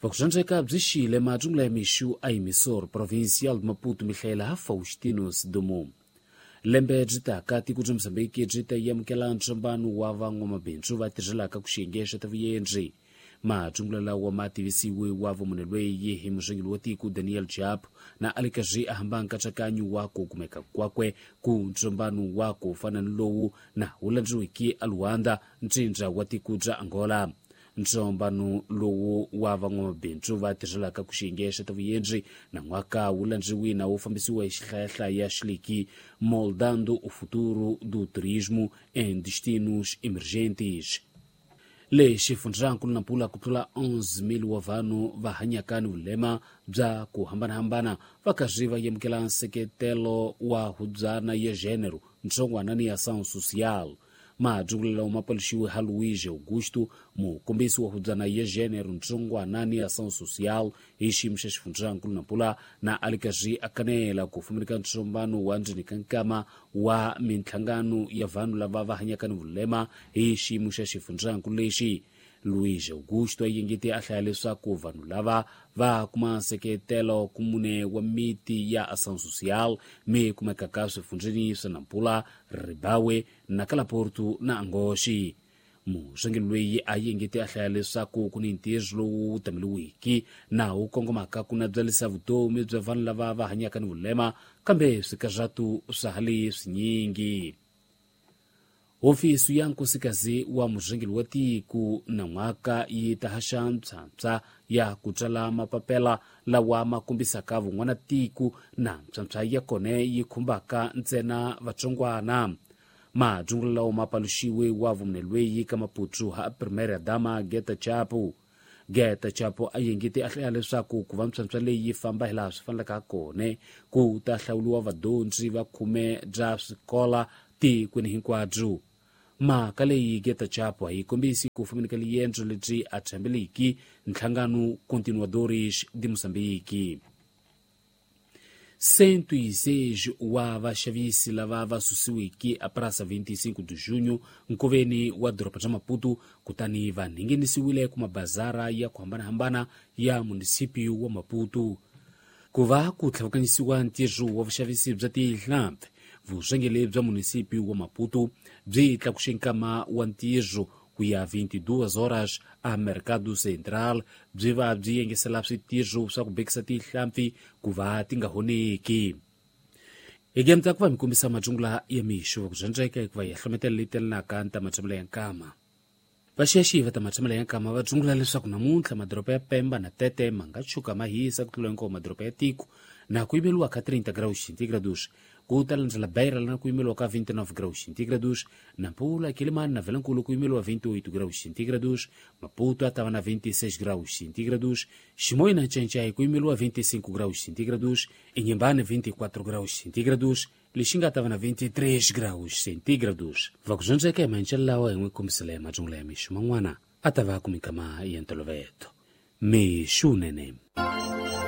Vakuxandzeka byi xile matsungula ya mixu a emissor provincial de Maputo mihlayela Faustino Sidumo. Lembe byi taka tiko bya Mozambiki byi ta amukela ntsombano wa van'wamabindzu va tirhelaka ku xiyenge xa ta vuyendzi. Matsungula lawa ma tivisiwe wa vumunhu lweyi hi murhangeri wa tiko Daniel Chapo na a le karhi a hamba nkatsakanyo wa ku kumeka kwakwe ku ntsombano wa ku fana ni lowu na wu landziweke a Luanda, ntsindza wa tiko bya Angola. Ntsombano lowu wa van'wamabindzu va tirhelaka ku xiyenge xa ta vuyendzi na n'waka wu landziwi na wu fambisiwa hi xihlayahlaya xileki Moldando o Futuro do Turismo em Destinos Emergentes. Le xifundzankulu Nampula ku tlula 11,000 wa vanhu va hanyaka ni vulema bya ku hambanahambana va karhi va yamukela nseketelo wa hubyana ya gênero ntsongwana ni ação social. Madyungulelo ma paluxiwe ha Luís Augusto, mukombisi wa hubyana ya gênero ntsongwana ni ação social hi xiyimo xa xifundzankulu Nampula, na a le karhi a kanela ku fumaneka ntsombano wa ndzeni ka nkama wa minhlangano ya vanhu lava va hanyaka ni vulema hi xiyimo xa xifundzankulu lexi. Luís Augusto a yingete a hlaya leswaku vanhu lava va kuma nseketelo ku mune wa miti ya ação social mi kumekaka swifundzeni swa Nampula, Ribawe, Nakalaporto na Angoxi. Murhangeri loyi a yingete a hlaya leswaku ku ni ntirho lowu tameliwiki na wu kongomaka ku nabyalisa vutomi bya vanhu lava va hanyaka ni vulema, kambe swikarhatu swa ha li swinyingi. Hofisi ya nkosikazi wa murhangeri wa tiko na n'waka yi ta haxa mpshampsha ya ku tsala mapapela lawa ma kombisaka vun'wana tiko na mpshampsha ya kona yi khumbaka ntsena vatsongwana. Madyungula lawa ma paluxiwe wa vumunhu lweyi ka Maputo ha Primeira Dama Geta Chapo. Geta Chapo a yingete a hlaya leswaku ku va mpshampsha leyi yi famba hi laha swi faneleke ha kona ku ta hlawuriwa vadyondzi va khume bya swikola tikweni hinkwabyo. Mhaka leyi Geta Chapo a yi kombisi ku fumaneka liendzo lebyi a tshembeliki nhlangano Continuadores de Moçambique. 106 wa vaxavisi lava va susiweke a Praça 25 de Junho nkoveni wa doroba bya Maputo kutani va nghenisiwile ku mabazara ya ku hambanahambana ya munisipio wa Maputo. Ku va ku tlhavukanyisiwa ntirho wa vuxavisi bya tihlampfi, vurhangeri bya munisipio wa Maputo byi tlakuxe nkama wa ntirho ku ya 22 horas a Mercado Central, byi va byi yengesela switirho swa ku bekisa tihlampfi ku va ti nga honeki. Hi gemta ku va mi kombisa madyungula ya mixo va ku dyondzeka hikuva hi hlometela leyi telanaka ni ta matshamelo ya nkama. Vaxiyaxiyi va ta matshamelo ya nkama va dzungula leswaku namuntlha madoroba ya Pemba na Tete ma nga tshuka ma hisa ku tlula hinkwawo madoroba ya tiko na ku yimeriwa ka 30 graus centígrados, ku ta landzela Beira na ku yimeriwa ka 29 graus centígrados, Nampula, Quelimane na Vilankulu ku yimeriwa 28 graus centígrados, Maputo a tava na 26 graus centígrados, Chimoio na Nchainchai ku yimeriwa 25 graus centígrados, Inhambane 24 graus centígrados, Lixinga tava na 23 graus centígrados. Vakudyondzeka hi maendlelo lawa hi n'wi kombisela ya madyungula ya mixo man'wana a ta va ku minkama ya ntolovelo. Mixo nene.